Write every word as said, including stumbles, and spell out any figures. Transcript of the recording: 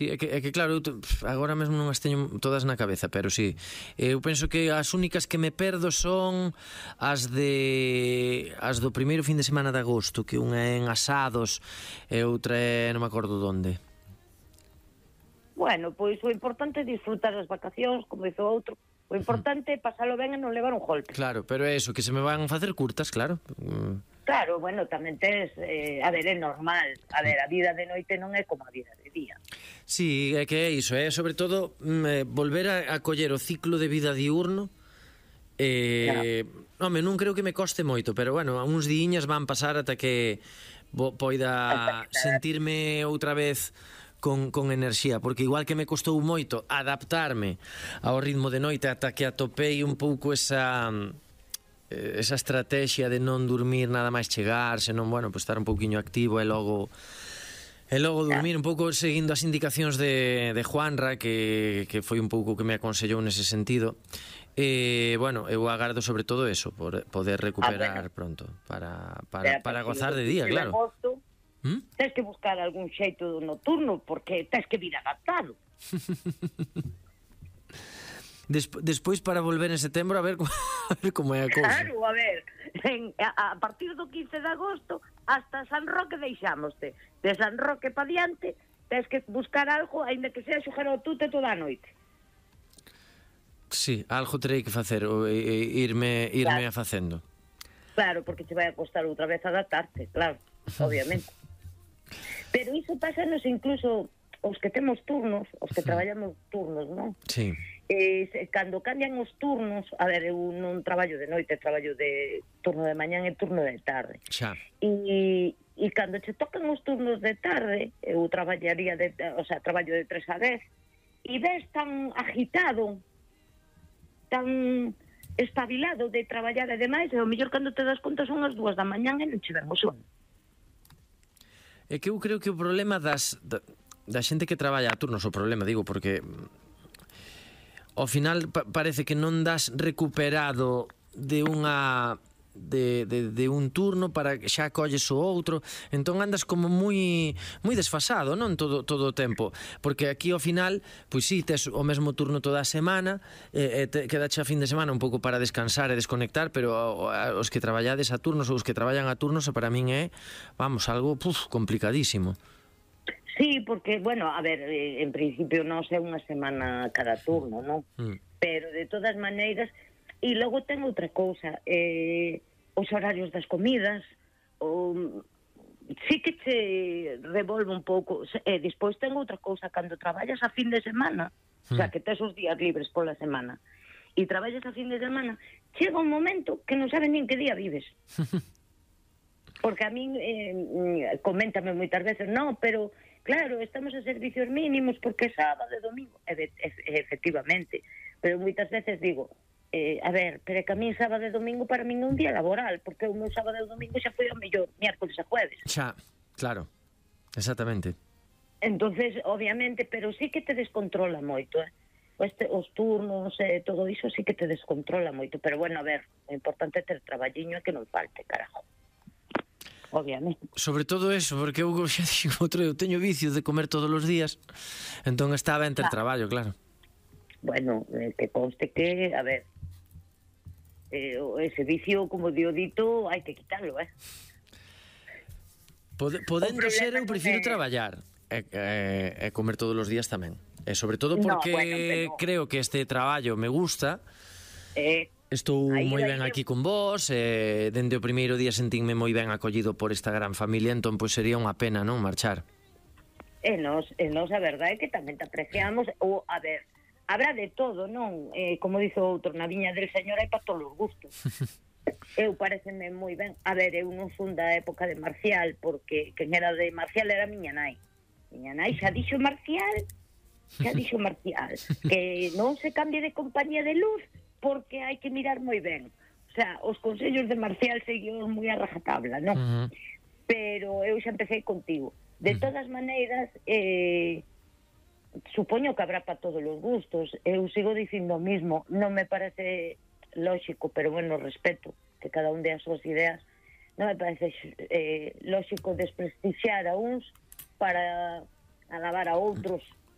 Sí, é que, é que claro, eu te- pf, agora mesmo non as teño todas na cabeza, pero sí, eu penso que as únicas que me perdo son as de as do primeiro fin de semana de agosto, que unha é en Asados e outra é non me acordo onde. Bueno, pois o importante é disfrutar as vacacións, como dice o outro. O importante é pasalo ben e non levar un golpe. Claro, pero é eso, que se me van facer curtas, claro. Mm. Claro, bueno, tamén tes, eh, a ver, é normal. A ver, a vida de noite non é como a vida de día. Sí, é que é iso, é sobre todo mm, eh, volver a, a coller o ciclo de vida diurno. Eh, claro. Home, non creo que me coste moito, pero bueno, uns diiñas van pasar ata que bo, poida sentirme outra vez con, con enerxía, porque igual que me costou moito adaptarme ao ritmo de noite ata que atopei un pouco esa esa estrategia de non dormir nada máis chegar, senón, bueno, pues estar un pouquiño activo e logo e logo dormir un pouco seguindo as indicacións de, de Juanra, que, que foi un pouco que me aconsellou nese sentido. E, bueno, eu agardo sobre todo eso, por poder recuperar ah, bueno. pronto para, para, para gozar de día, claro. Agosto, ¿Mm? Tens que buscar algún xeito nocturno, porque tens que vir adaptado. Desp despois para volver en setembro a ver, a ver como é a cousa. Claro, a ver, en, a, a partir do quince de agosto hasta San Roque deixámoste. De San Roque pa diante tens que buscar algo, aínda que sea xogar ao tute toda a noite. Sí, algo terei que facer, ou, e, irme, irme claro. a facendo. Claro, porque te vai a costar outra vez adaptarte, claro, obviamente. Pero iso pásanos incluso os que temos turnos, os que traballamos turnos, non? Sí. Eh, cando cambian os turnos, a ver, eu non traballo de noite, traballo de turno de mañán e turno de tarde. Xa. E, e cando che tocan os turnos de tarde, eu traballaría de, o sea, traballo de tres a dez, e ves tan agitado, tan espabilado de traballar e demais, e o mellor cando te das conta son as dúas da mañán e non che ven o sono. É que eu creo que o problema das da, da xente que traballa a turnos, o problema, digo, porque ao final pa parece que non das recuperado de unha de, de, de un turno para que xa colles o outro, entón andas como moi moi desfasado, non todo todo o tempo, porque aquí ao final pois si, tes o mesmo turno toda a semana, e, e te, quedache a fin de semana un pouco para descansar e desconectar, pero os que traballades a turnos ou os que traballan a turnos para min é, vamos, algo puf, complicadísimo. Sí, porque, bueno, a ver, eh, en principio non é unha semana cada turno, non? Mm. Pero de todas maneiras, e logo ten outra cousa, eh, os horarios das comidas, o, sí que te revolve un pouco, e eh, despois ten outra cousa, cando traballas a fin de semana, mm. o sea, que tes os días libres pola semana, e traballas a fin de semana, chega un momento que non sabes nin que día vives. Porque a min eh, coméntame moitas veces, no, pero claro, estamos a servicios mínimos porque é sábado e domingo. E, e, efectivamente, pero moitas veces digo, eh, a ver, pero é que a min sábado e domingo para min é un día laboral, porque o meu sábado e domingo xa foi o mellor miércoles e jueves. Xa, claro, exactamente. Entonces, obviamente, pero sí que te descontrola moito, eh? Este, os turnos e eh, todo iso sí que te descontrola moito, pero bueno, a ver, o importante é ter traballiño e que non falte, carajo. Obviamente. Sobre todo eso, porque eu xa dixo outro, eu teño vicio de comer todos os días, entón estaba en ter ah. traballo, claro. Bueno, eh, que conste que, a ver, eh, ese vicio, como dio dito, hai que quitarlo, eh? Pod podendo ser, eu prefiro é... traballar e, e, e comer todos os días tamén. E sobre todo porque no, bueno, pero... creo que este traballo me gusta. Eh... Estou aí, moi ben aí, aquí con vos, e dende o primeiro día sentinme moi ben acollido por esta gran familia, entón pois sería unha pena, non, marchar. E nos, e nos a verdade é que tamén te apreciamos, ou, a ver, habrá de todo, non? Eh, como dice outro, na viña del señor hai para todos os gustos. Eu pareceme moi ben. A ver, eu non son da época de Marcial, porque quen era de Marcial era miña nai. Miña nai xa dixo Marcial, xa dixo Marcial, que non se cambie de compañía de luz, porque hai que mirar moi ben. O sea, os consellos de Marcial seguiu moi a rajatabla, non? Uh -huh. Pero eu xa empecé contigo. De uh -huh. todas maneiras, eh, supoño que habrá para todos os gustos. Eu sigo dicindo o mismo. Non me parece lógico, pero bueno, respeto que cada un dé as súas ideas. Non me parece eh, lógico desprestixiar a uns para alabar a outros.